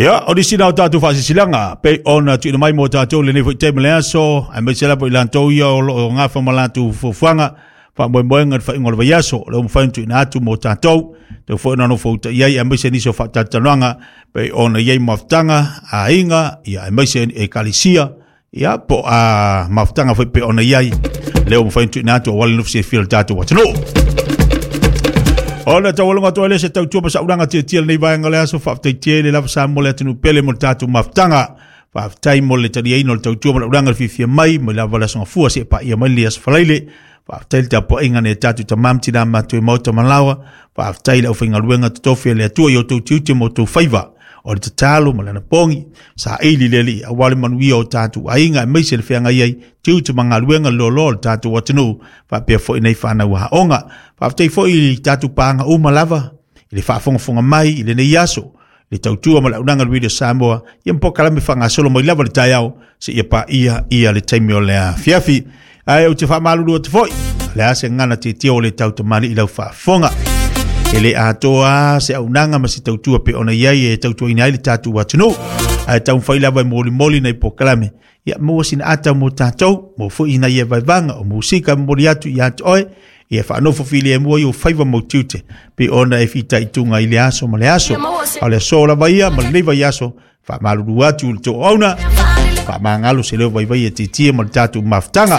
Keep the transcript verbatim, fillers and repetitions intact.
Ia, o nisi na o tatou faasilasilaga pei ona tuuina mai mo tatou lenei foi taimi le aso, aemaise lava i latou ia o loo gafa ma latou fuafuaga faamoemoega i le faaiuga o le vaiaso, o lea ua mafai ona tuuina atu mo tatou tau foi ona nofouta'i ai, aemaise nisi o faatalatalanoaga pei ona i ai mafutaga a aiga, ia aemaise ekalesia, ia po a mafutaga foi pei ona i ai lea ua mafai ona tuuina atu aua le nofo silafia o le tatou atunuu. Ona taualoga atu ai lea se tautua ma saulaga tiatia lenei vaega o le aso. Faafetai tele lava Samoa le atunuu pele mo le tatou mafutaga. Faafetai mo le taliaina o le tautua ma le ulaga le fiafia mai mai lava le aso Gafua seia paia mai le aso Faraile. Faafetai le tapuaiga nai tatou tama ma tina matua i maota ma laoa. Faafetai i le aufaigaluega totofi a le Atua i outou tiute ma outou faiva. O le tatalo ma le anapogi, saili le Alii aua le manuia o tatou aiga, aemaise le feagai ai tiute ma galuega loaloa o le tatou atunuu, faapea foi nei fanau aoga. Faafetai foi i tatou paaga uma lava i le faafogafoga mai i lenei aso, le tautua ma le auaunaga a le Radio Samoa, ia ma polokalame faagasolo mai lava le taeao seia paia ia le taimi o le afiafi. Ae ou te faamalulu atu foi, o le a se gagana tietie o le tautamalii i lau faafofoga. E le atoa se auaunaga ma se tautua pe ona i ai e tautuaina ai le tatou atunuu. Ae taumafai lava e molimoli nai polokalame, ia maua sina ata mo tatou, mo foi ina ia vaevaga o musika momoli atu ia te oe, ia faanofo filemu ai ou faiva ma ou tiute, pei ona e fitaituga i le aso ma le aso. A o le aso lava ia ma lenei vaiaso, faamalulu atu i le toauauna, faamagalo se leo vaivai e tietie ma le tatou mafutaga.